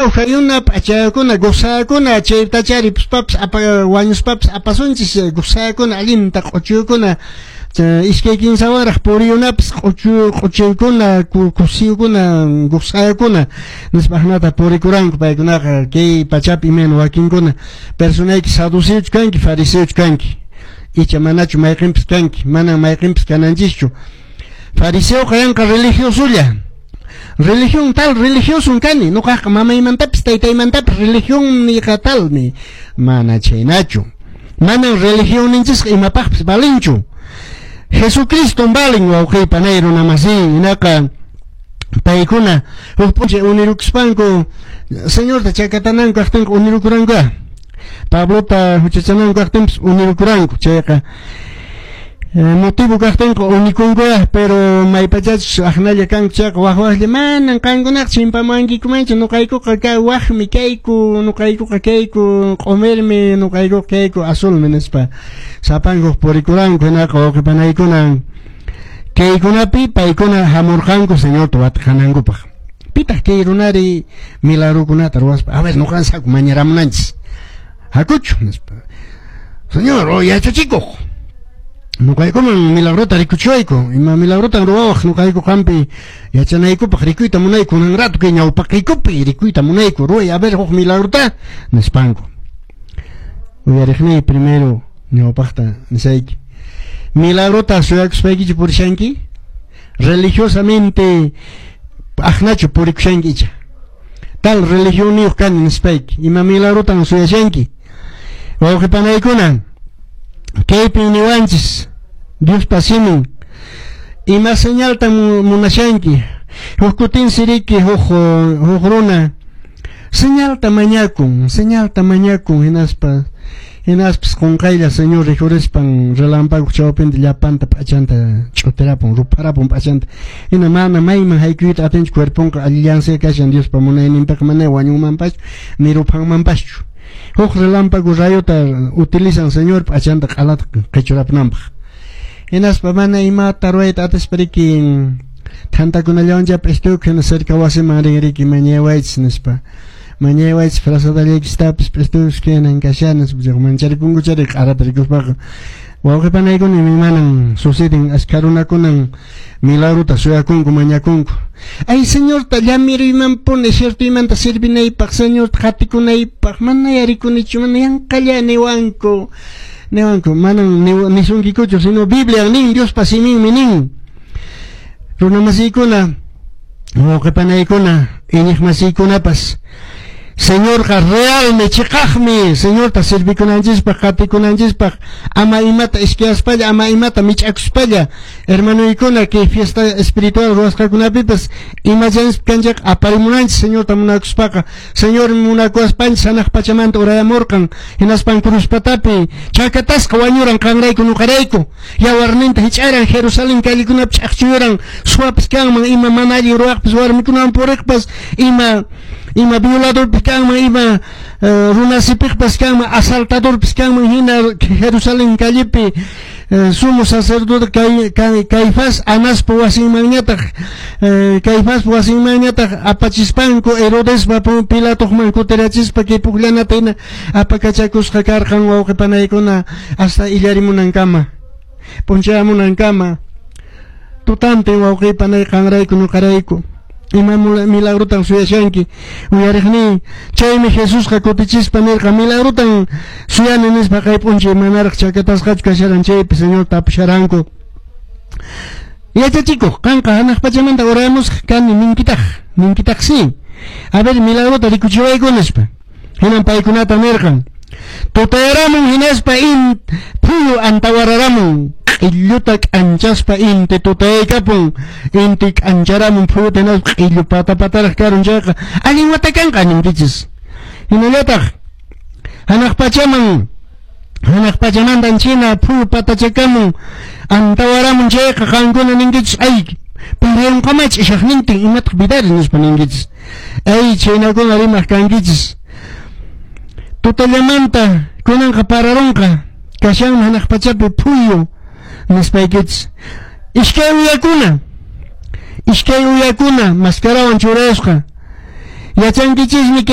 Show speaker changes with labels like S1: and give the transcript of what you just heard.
S1: ujayuna, p'achayakuna, gozakuna, chaytacha ripuspapis wañuspapis apasunchis, gozakuna, allinta q'uchukuna, iskay kinsawanraq puriyunapis q'uchuykuna, kusiyukuna, gozakuna, nispa ajnata purikuranku paykunaqa kay pachapi imayna wakinkuna personayki saduceochu kanki, fariseochu kanki, icha manachu mayqinpis kanki, manan mayqinpis kananchischu. Fariseoqa yanqa religiosolla. Religión tal, religioso kani, nuqaqa mamaymantapis taytaymantapis religión niqa talmi, mana chaynachu. Manan religionninchisqa imapaqpis valinchu. Jesucristo valin wawqiy panay runa masiy, hinaqa paykuna huk p'unchay unirukuspanku Señorta chakatananku kaqtinqa unirukuranku. Pablota huchachananku kaqtinpis unirukuranku, chayqa motivo kaqtinqa unikunku, pero maypachachus aqnalla kanku chayqa waq waqlla manan qankunaqa chimpamuwankikumanchu, nuqaykuqa ka waqmi kayku, nuqaykuqa kayku q'umirmi, nuqaykuqa kayku azulmi nispa sapankuq purikuranku. Hinaqa wawqi panaykuna kaykunapi paykuna hamurqanku Señorta watiqanankupaq. Pitaq kay runari milagrukunata ruwaspa, a ver nuqanchis haku mañaramunanchis, hakuchu nispa. Señor, oh yachachikuq, nuqaykuman milagrota rikuchiwayku, ima milagrotan ruwawaq nuqayku qampi yachanaykupaq rikuyta munayku, kunan rato kay ñawpaqiykupi rikuyta munayku, ruway a ver huk milagrota nispanku. Uyariqniy primero ñawpaqta nisayki, milagrota suyakuspaykichu purishanki, religiosamente aqnachu purikushanki icha tal religionniyuq kani nispayki, ima milagrotan suyashanki. Wawqi panaykuna, kaypin niwanchis Diospa simin, ima señaltan munashanki. Huk kutinsi riki huk runa señalta mañakun, hinaspa hinaspas qunqaylla Señor rikhurispan relampaguq chawpinta llapanta p'achanta ch'utirapun, rupharapun p'achanta. Hina mana mayman haykuyta atinchu, cuerponqa allillansi kashan Diospa munayninpiqa, mana wañunmanpaschu ni ruphanmanpaschu. Huk relámpago rayota utilizan Señor p'achanta q'alata qichurapunanpaq. Hinaspa mana imata ruwayta atispa riki thantakunallawancha p'istukuk hina cerca wasiman rin riki mañaywaychis nispa. Mañaywaychis frazadallaykistapis p'istukuk hinan kashani nispa, mancharikunku chari q'arata rikuspaqa. Wawqi panaykuna manan suceden, askha runakunan milagrota suyakunku, mañakunku. Ay Señorta llamiruymanpuni ciertoymanta servinaypaq, Señorta qatikunaypaq, mana yarikunichu, mana yanqalla niwanku. Niwanku, manan nisunkikuchu, sino Biblia nin, Diospa siminmi nin. Runamasiykuna, wawqi panaykuna, iñiqmasiykunapas, Señorqa realmi, chiqaqmi, Señorta servikunanchispaq, qatikunanchispaq, ama imata iskayaspalla, ama imata mich'akuspalla, hermanoykuna, kay fiesta espiritual ruwasqakunapipas imachanchis kanchaq aparimunanchis Señorta munakuspaqa. Señor munakuwaspanchis hanaq pachamanta urayamurqan, hinaspan cruz patapi chakatasqa wañuran qanrayku nuqarayku, yawarninta hich'aran Jerusalén callekunapi ch'aqchuyuran, suwapis kanman, ima mana allin ruwaqpis, warmikunawan puriqpas, ima violadorpis kanman, ima runasipiqpas kanman, asaltadorpis kanman, hina Jerusalén callepi sumo sacerdote Caifás Anaspa wasinmanñataq, Caifaspa wasinmanñataq apachispanku Herodespa Pilatoqman kutirachispa kay pukllanata hina apakachakusqa karqan wawqi panaykuna hasta illarimunankama, p'unchayamunankama, tutantin wawqi panay qanrayku nuqarayku. Ima milagrotan suyashanki, uyariqniy. Chaymi Jesusqa kutichispa nirqa, milagrotan suyani nispa kay p'unchay manaraq chakatasqachu kasharan chaypi Señor tapusharanku. Yachachikuq, qanqa hanaq pachamanta urayamusqa kani ninkitaq, ninkitaqsi. A ver, milagrota rikuchiwayku nispa. Hinan paykunata nirqan, tutayaramun hinaspa phuyu antawararamun, q'illuta k'anchaspa inti tutayaykapun, inti k'ancharamun phuyuta hinaspa q'illu pata pataraq karun chayqa allin wata kanqa ninkichis. Hinallataq hanaq pachamantan china phuyu patachakamun antawaramun chayqa qankuna ninkichis, ay parayunqamach ishaqnintin imataq vidari nispa ninkichis. Ay chaynakuna rimaq kankichis. Tutallamanta kunanqa pararunqa kashanmi hanaq pachapi phuyu nispaykichis. Iskay uyakuna mascarawan churayasqa. Yachankichismi.